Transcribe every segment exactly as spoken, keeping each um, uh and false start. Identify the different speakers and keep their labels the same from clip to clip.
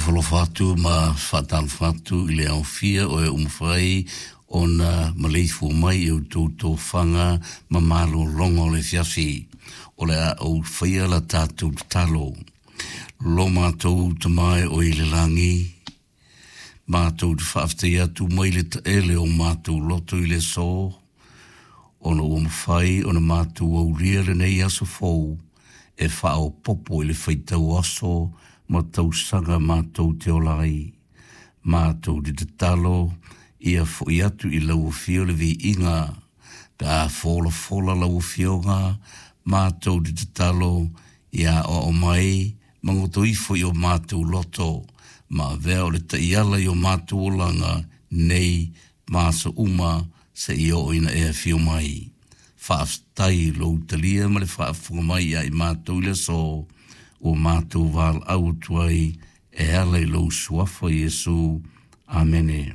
Speaker 1: alofa atu ma faatalofa atu i le aofia o e umafai ona maleifua mai i outou tofaga ma malologa o le afiafi. O le a ou faia la tatou tatalo. Lo matou Tama e o i le lagi, matou te faafetai atu mai le taele o matou loto i le aso, ona ua mafai ona matou aulia lenei aso fou e faaopoopo i le faitau aso ma tausaga matou te ola ai. Matou te tatalo ia fo'i atu i lau afio le viiga pe a folafola lau afioga matou te tatalo ia aoao mai ma goto ifo i o matou loto ma avea o le taiala i o matou olaga nei ma aso uma seia oo ina e afio mai. Faafetai lou talia ma le faafofoga mai ia i matou i le aso ua matou valaau atu ai e ala i lou suafa Iesu. Amene.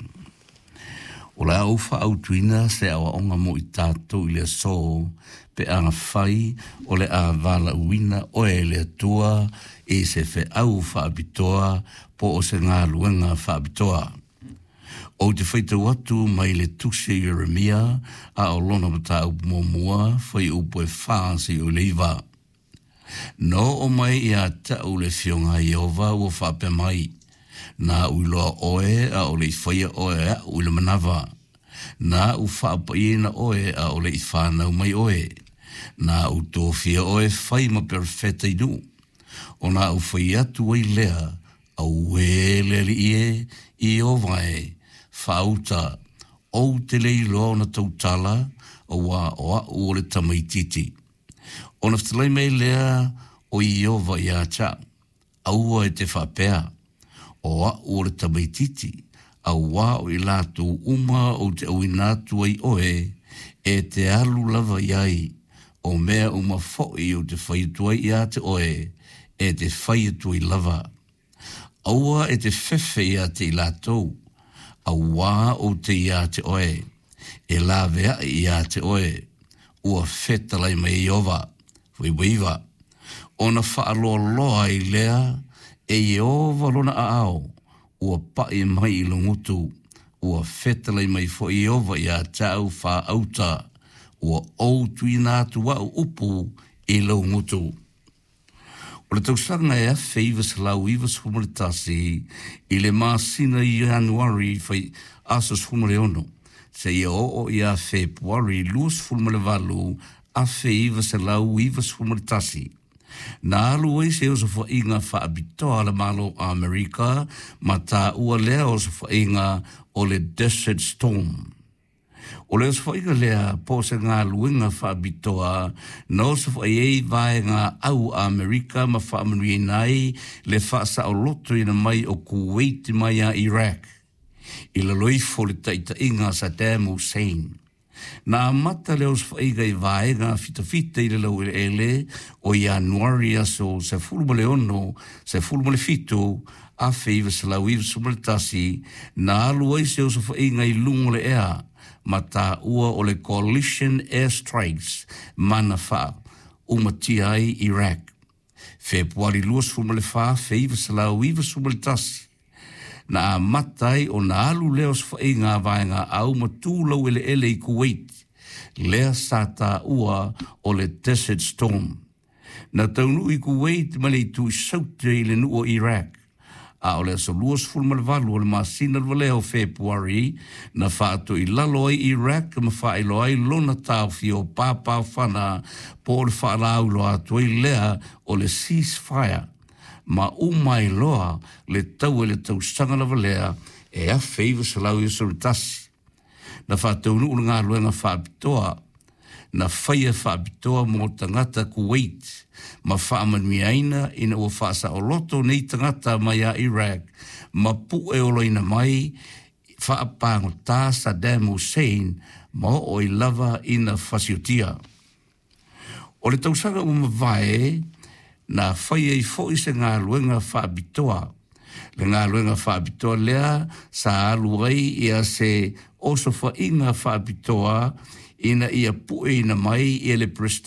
Speaker 1: O le a ou faaautuina se aoaoga mo i tatou i le aso pe afai o le a valaauina oe e le Atua i se feau faapitoa po o se galuega faapitoa. Ou te faitau atu mai le tusi a Ieremia a o lona mataupu muamua fuaiupu e fa seia oo i le iva. Na oo mai ia te au le afioga a Ieova ua faapea mai, Na ou iloa oe a o le i faia oe e aʻu i le manava. Na ou faapaiaina oe a o le i fanau mai oe. Na ou tofia oe e fai ma perofeta i nuu. Ona ou fai atu ai lea, Auē le Alii e, Ieova e, faauta, ou te le iloa ona tautala, auā o aʻu o le tamaitiiti. Ona fetalai mai lea o Ieova ia te au, Aua e te faapea, O aʻu o le tamaitiiti, auā o i latou uma ou te auina atu ai oe, e te alu lava i ai, o mea uma foi ou te fai atu ai ia te oe, e te fai atu ai lava. Aua e te fefe ia te i latou, auā ou te iā te oe, e laveai ia te oe, ua fetalai mai e Ieova. Fuaiupu iva. Ona faaloaloa ai lea e Ieova lona aao, ua paʻi mai i lou gutu, ua fetalai mai foi Ieova ia te au faauta, ua ou tuuina atu aʻu upu i lou gutu. O le tausaga e afe iva selau iva sefulu ma le tasi i le masina Ianuari fai aso sefulu ma le ono seia oo ia Fepuari lua sefulu ma le valu afe iva selau iva sefulu ma le tasi, na alu ai se osofaiga faapitoa a le Malo o Amerika ma taua lea osofaiga o le Desert Storm. O le osofaiga lea po o se galuega faapitoa na osofai ai vaega au a Amerika ma faamanuiaina ai le faasaolotoina mai o Kuwait mai ia Iraq i lalo ifo o le taitaiga a Saddam Hussein. Na amata le osofaiga i vaega fitafita i le laueleele o Ianuari aso sefulu ma le ono, sefulu ma le fitu, afe iva selau iva sefulu ma le tasi, na alu ai se osofaiga i luga o le ea ma taua o le Coalition Air Strikes ma na faaumatia ai Iraq. Fepuari luasefulu ma le fa, afe iva selau iva sefulu ma le tasi, na amata ai ona alu lea osofaiga a vaega au ma tu laueleele i Kuwait, lea sa taua o le Desert Storm. Na taunuu i Kuwait ma le itu i Saute i le nuu o Iraq, a o le aso luasefulu ma le valu o le masina lava lea o Fepuari na faatoilalo ai Iraq ma faailoa ai lona taofi o papaofana po o le faalauiloa atu ai lea o le ceasefire ma uma ai loa le taua i le tausaga lava lea e afe iva selau iva sefulu ma le tasi. Na faataunuu le galuega faapitoa na faia faapitoa mo tagata Kuwait ma faamanuiaina ina ua faasaoloto nei tagata mai ia Iraq ma pueolaina mai faapagota Saddam Hussein ma oo ai lava ina fasiotia. O le tausaga ua mavae na fai ai foi se galuega faapitoa. Le galuega faapitoa lea sa alu ai ia se osofaiga faapitoa ina ia pueina mai e le Peresetene